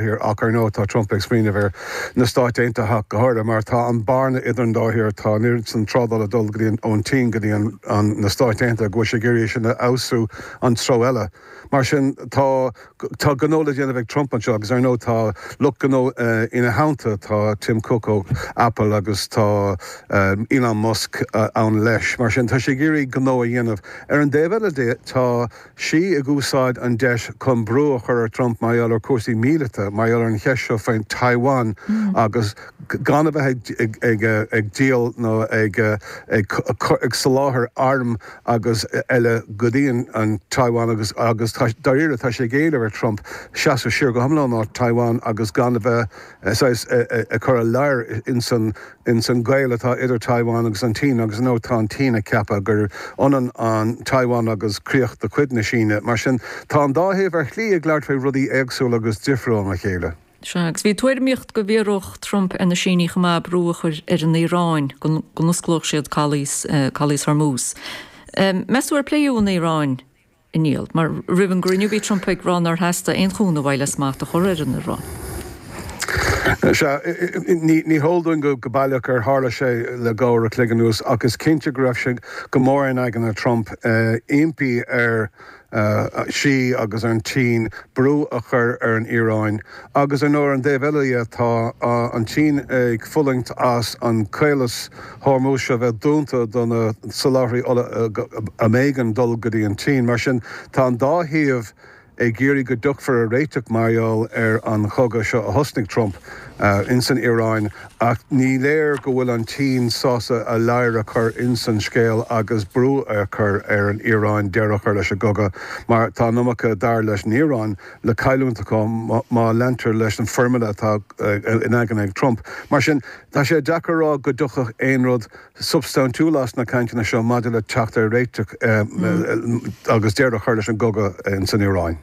Thír ach ar ndóigh tá Trump ag smaoineamh ar na Stáit Aontaithe ach go háirithe mar tá an bearna idir an dá thír, tá an oiread san trádála ag dul go dtí an, ón tSín go dtí an, an, na Stáit Aontaithe go bhfuil sé ag iarraidh é sin a fheabhsú an treo eile. Mar sin tá, tá gnó le déanamh ag Trump anseo agus ar ndóigh tá lucht gnó ina theannta, tá Tim Cook ó Apple agus tá Elon Musk ann leis. Mar sin tá sé ag iarraidh gnó a dhéanamh. Ar an dtaobh eile de tá. Xi ag úsáid an deis chun brú a chur ar Trump mar gheall ar cúrsaí míleata, mar gheall ar an cheist seo faoin Taiwan agus gan a bheith ag díol nó ag soláthar airm agus eile go dtí an Taiwan agus agus dáiríre tá sé ag éileamh ar Trump seasamh siar go hiomlán ó Taiwan agus gan a bheith saghas ag cur a ladhar ins an ins an gaol atá idir Taiwan agus an tSín agus ar ndóigh tá an tSín ag ceapadh gur ionann an Taiwan agus críoch de chuid na Síne. Mar sin tá an dá thaobh ar shlí ag labhairt faoi rudaí éagsúla agus difriúil óna chéile. Sea, agus bhí tuairimíocht go bhfiafródh Trump ar na Sínigh chomh maith brú a chur ar an Iaráin go n-osclódh siad calaos calaos Hormuz. Meas tú ar pléadh an Iaráin? A Niall, mar roimh an gcruinniú bhí Trump ag rá nár theastaigh aon chúnamh uaidh le smacht a chur ar an Iaráin. Sea, ní heol dúinn go baileach ar tharla sé le dhá uair a chloig anuas ach is cinnte go raibh sé go mór in aigne Trump impí ar Xi agus ar an tSín brú a chur ar an Iaráin. Agus ar ndóigh ar an dtaobh eile dhe tá an tSín ag fulaingt as an caolas Hormuz seo bheith dúnta do na soláthraí ola a mb'éigean dul go dtí an tSín. Mar sin tá an dá thaobh ag iarraidh go dtiocfar ar réiteach mar gheall ar an chogadh seo a thosnaigh Trump ins an Iaráin ach ní léir go bhfuil an tSín sásta a ladhar a chur ins an scéal agus brú a chur ar an Iaráin deireadh a chur leis an gcogadh mar tá an iomarca dar leis an Iaráin le cailliúint acu má leantar leis an foirmle atá in aigne ag Trump. Mar sin, tá sé deacair a rá go dtiocfadh aon rud substaintiúil as na cainteanna seo maidir le teacht ar réiteach agus deireadh a chur leis an gcogadh ins an Iaráin.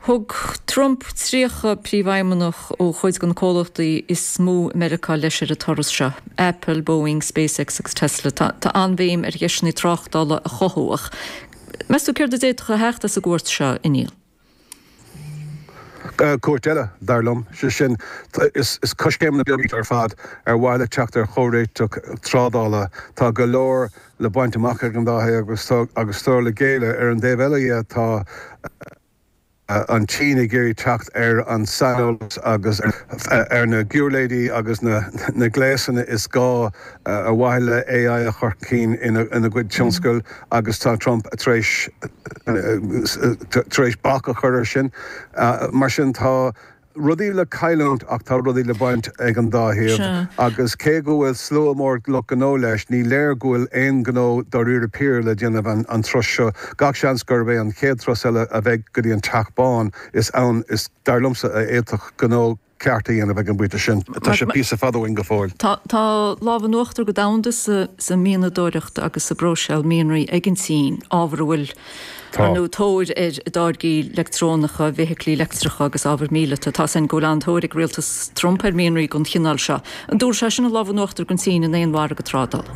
Thug Trump 30 príomhfheidhmeannach ó chuid de na comhlachtaí is mó i Meiriceá leis ar an turas seo, Apple, Boeing, SpaceX agus Tesla. Tá an-bhéim ar dheiseanna tráchtála a chothú ach meas tú céard a d'fhéadfadh a theacht as an gcuairt seo, a Niall? Cuairt eile, dar liom. Sé sin, is coiscéimeanna beaga iad ar fad ar mhaithe le teacht ar chomhréiteach trádála. Tá go leor le baint amach ag an dá thaobh agus tá agus tá le géilleadh. Ar an dtaobh eile dhe, tá an tSín ag iarraidh teacht ar an saineolas agus ar na giuirléidí agus na gléasanna is gá ar mhaithe le AI a chur chun cinn ina gcuid tionscail agus tá Trump tar éis tar éis bac a chur air sin. Mar sin tá rudaí le cailliúint ach tá rudaí le baint ag an dá thaobh agus cé go bhfuil slua mór lucht gnó leis, ní léir go bhfuil aon ghnó dáiríre píre le déanamh an turas seo. Gach seans gurb é an chéad turas eile a bheidh go dtí an Teach Bán is ann is, dar liomsa, a fhéadfadh gnó ceart a dhéanamh ag an bpointe sin. Tá sé píosa fada uainn go fóill. Tá lámh in uachtar go domhanda sa mhianadóireacht agus sa bpróiseáil mianraí ag an tSín, ábhar a bhfuil, ar ndóigh, tóir air i dtáirgí leictreonacha, bhfeithiclí leictreacha agus ábhar míleata. Tá a fhios againn go bhfuil an-tóir ag rialtas Trump ar mhianraí den chineál seo. An dtabharfaidh sé sin an lámh in uachtar don tSín in aon mhargadh trádála?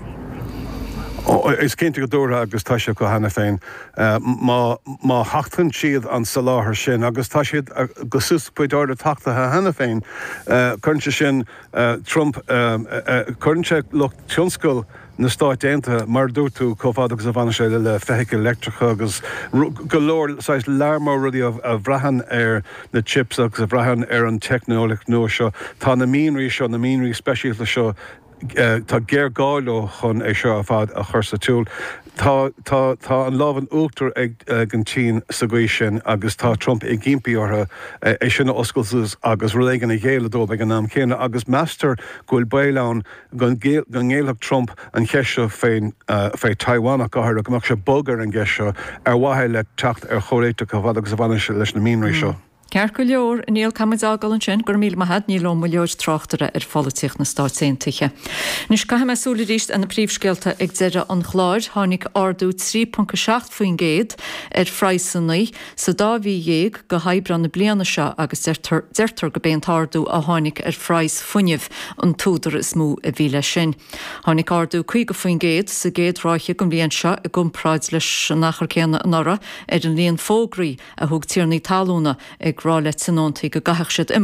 Is cinnte go dtabharfaidh agus tá sé acu cheana féin. Má má thachtann siad an soláthar sin, agus tá siad go suas cuid áirid tachtaithe cheana féin, cuireann sé sin Trump, cuireann sé lucht tionscail na Stáit Aontaithe, mar a dúirt tú, chomh fada agus a bhaineann sé le feithicil leictreacha agus go leor saghas lear mór rudaí a bhraitheann ar na chips agus a bhraitheann ar an teicneolaíocht nua seo. Tá na mianraí seo, na mianraí speisialta seo, Tá géarghá leo chun é seo ar fad a chur sa tsiúl. Tá, tá, tá an lámh in uachtar ag, ag an tSín sa gcaoi sin agus tá Trump ag impí orthu é sin a oscailt suas agus rud éigin a ghéilleadh dóibh ag an am céanna agus meastar go bhfuil baol ann go ngéillfeadh Trump an cheist seo faoin, fé Taiwan ach go háirithe, go mbeadh sé bog ar an gceist seo ar mhaithe le teacht ar chomhréiteach chomh fada agus a bhaineann sé leis na mianraí seo. Ceart go leor, a Niall, caithfidh muid é a fhágáil ansin. Go raibh míle maith a't. Niall Ó Muilleoir, tráchtaire ar pholaitíocht na Stáit Aontaithe. Anois, caithfidh mé súil arís ar na príomhscéalta ag deireadh an chláir. Tháinig ardú 3.7% ar phraghsanna sa dá mhí dhéag go hAibreán na bliana seo agus deirtear deirtear go b'é an t-ardú a tháinig ar phraghas fuinnimh an t-údar is mó a bhí leis sin. Tháinig ardú 50% sa gcéad ráithe den bhliain seo i gcomparáid leis an achar céanna anuraidh ar an líon fógraí a thug tiarnaí talúna ag. ag rá le tionóntaí go gcaithfeadh siad imeacht.